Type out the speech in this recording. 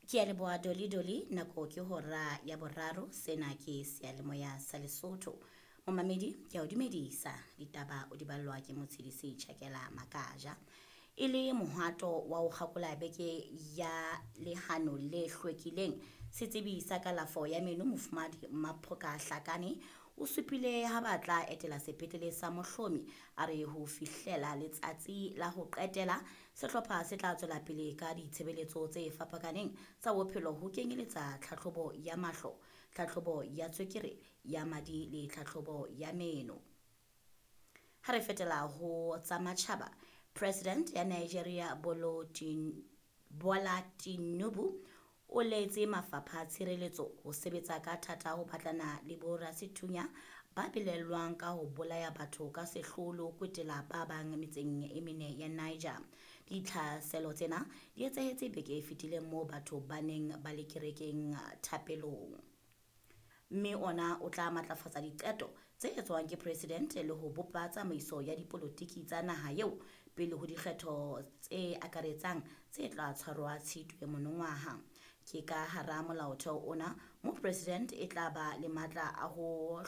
Ke a leboha Dolly Dolly, nako ke hora ya boraro, sena ke seyalemoya sa Lesotho. Momamedi, ke a o dumedisa, ditaba o di ballwa ke Motshedisi Tjhakela Makaja. E le mohato wa ho kgakola beke ya lehano le hlwekileng, setsebi sa kalafo ya meno Mofumahadi Maphoka Hlakane o supile ha ba tla etela sepetlele sa Mohlomi. A re ho fihlela letsatsi la ho qetela, sehlopha se tla tswela pele ka ditshebeletso tse fapakaneng tsa bophelo ho kenyeletsa tlhahlobo ya mahlo, tlhahlobo ya tswekere ya madi le tlhahlobo ya meno. Ha re fetela ho tsa matjhaba, President ya Nigeria Bola Tinubu o laetse mafapha a tshireletso ho sebetsa ka thata ho batlana le borasethunya ba belaellwang ka ho bolaya batho ka sehloho le ho kwetela ba bang metseng e mene ya Niger. Ditlhaselo tsena di etsahetse beke e fetileng moo batho ba neng ba le kerekeng thapelong. Mme ona o tla matlafatsa diqeto tse etswang ke president le ho bopa tsamaiso ya dipolotiki tsa naha eo pele ho dikgetho tse akaretsang tse tla tshwarwa Tshitwe monongwaha. Ke ka hara molaotheo ona mo president e tla ba le matla a ho